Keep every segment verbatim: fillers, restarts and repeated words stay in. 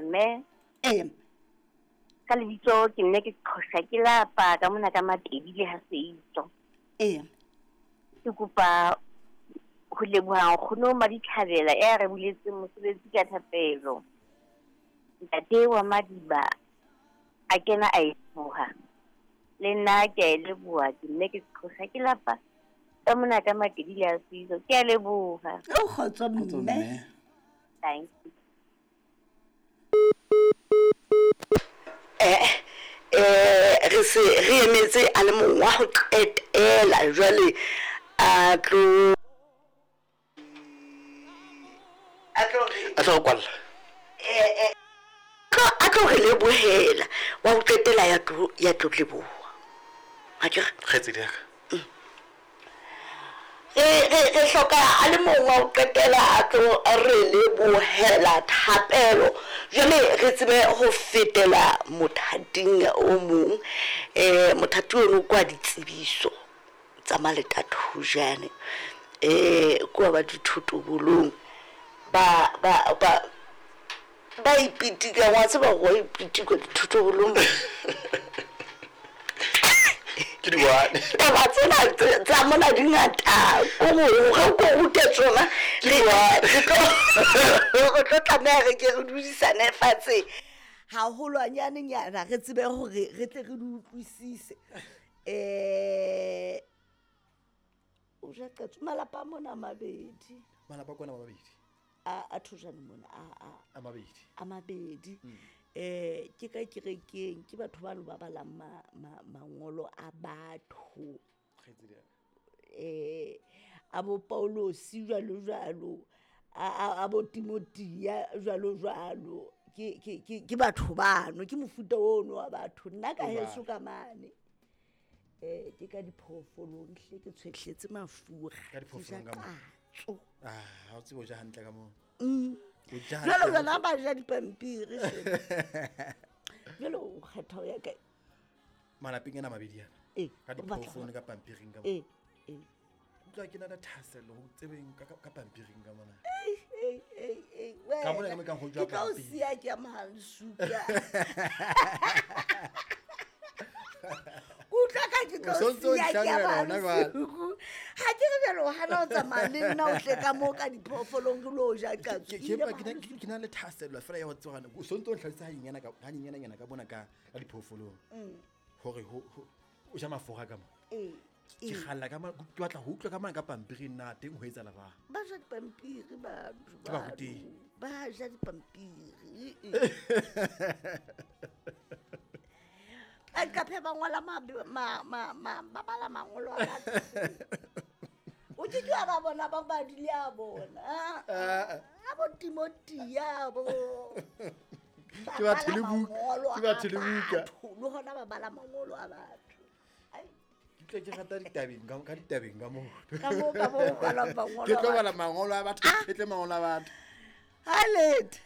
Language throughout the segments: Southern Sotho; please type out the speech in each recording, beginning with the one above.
Mme. Ee. Ka lebitso ke nne ke Qhosha ke lapa ka mona ka Matedi le ha Seitso. Ee. Ke kopa ho leboha nkgono Maditlhabela e a re buletseng mosebetsi ka thapelo. Ntate wa Madiba a kena a e leboha. Le nna ke a e leboha, ke nne ke Qhosha ke lapa ka mona ka Matedi le ha Seitso. Ke a leboha. O kgotso mme. Thank you. Eh eh re se re emetse a le mong wa ho qetela jwale a tlo a tlo a tlo kwalla eh eh a tlo re lebohela wa ho qetela ya tlo ya tlo leboha ha ke re kgetsedi ya ka re re re hloka a le mong wa ho qetela a tlo re lebohela thapelo jwale re tsebe ho fetela mothating o mong. Eh mothati ono kwa ditsebiso tsa Maletathojane eh kwa ba dithotobolong ba ba ba ba ipitika wa tseba go ipitika dithotobolong ke di one taba tsena tsa mona di ngata ko go go rute tsona ke di one re tlo tlameha re ke re dudisane fatshe haholwanyane nyana re tsebe hore re tle re di utlwisise. Eh o ja qetso malapa mona mabedi malapa kona mabedi a a thojane mona a a a mabedi a mabedi eh ke ka kerekeng ke batho ba ba balang mangolo a batho eh a bo Paulosi jwalo jwalo a a bo Timothea jwalo jwalo ke ke ke batho bano ke mofuta ono wa batho nna ka heso ka mane eh ke ka diphoofolong hle ke tshwehletse mafura ka diphoofolong ka mo ah ha o tsebo ja hantle ka mo mm jalo jalo ba ja dipampiri jalo o kgetha ya ka malapeng ena mabedi ana ka diphoofolong ka pampiring ka mo eh eh utlwa ke na le thahasello ho tsebeng ka ka pampiring ka mona eh eh eh eh ka mona ka mo ka ho jwa ke tlo siya ke mahalsuka utlwa ka ke tlo siya ke mahalsuka ha ke re jalo hana o tsamaya le nna o tle ka mo ka diphoofolong ke lo ja ka ke ke ke na le thahasello fela ya ho tseba o sontso o ntlhalisa ha nyana ka ha nyana nyana ka bona ka ka diphoofolong hore ho o ja mafura ka mo eh ke kgalla ka ke batla ho utlwa ka mang ka pampiri nna teng ho etsa la ba ja dipampiri ba ba ba ja dipampiri a ka phe ba ngola ma ma ma ba bala mangolo a batho o ke ke ba bona ba ba dile a bona a bo Timothea bo ke ba thele buka ke ba thele buka le hona ba bala mangolo a batho ke ke rata ditabeng ka ka ditabeng ka mo ka mo ka mo bala mangolo ke tlo bala mangolo a batho ke tle mangolo a batho halet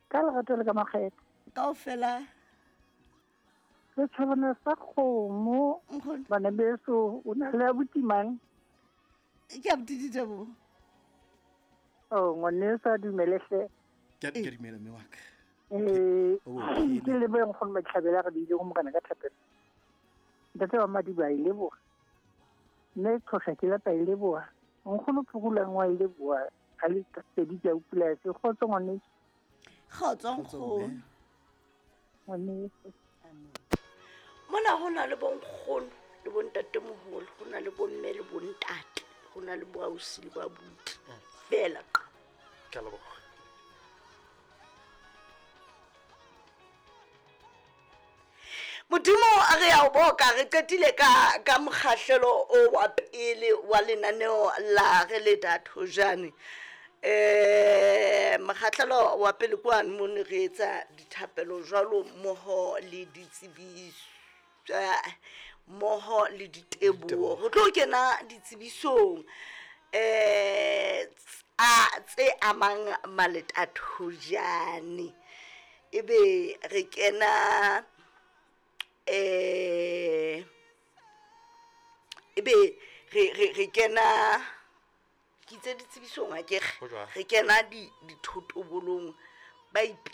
ka lerato le ka makgetho kaofela re tshwana sa kgomo bana beso o na le abuti mang ke abuti Diteboho oh ngwaneso a dumele hle ke ke dumela mme wa ka eh ke le bo nkgono Matlhabela re bile go morena ka thapelo ntate wa Madiba e leboha mme Qhosha ke lapa e leboha nkgono Phukulang wa e leboha ha le pedi ke a upula se kgotso ngwaneso kgotso nkgono ngwaneso mona ho na le bonkgono le bontatemoholo ho na le bomme le bontate ho na le boausi le babuti fela ke a leboha. Modimo a re a o boka re qetile ka ka mokgahlelo o wa pele wa lenaneo la re le Dathojane. Eh mokgahlelo wa pele kwane mo ne re etsa dithapelo jwalo mmoho le ditsebiso mmoho le diteboho. Re tlo kena ditsebisong eh a tse amang Maletathojane ebe re kena eh ebe re re re kena ke tse ditsebisong a ke re kena di dithotobolong ba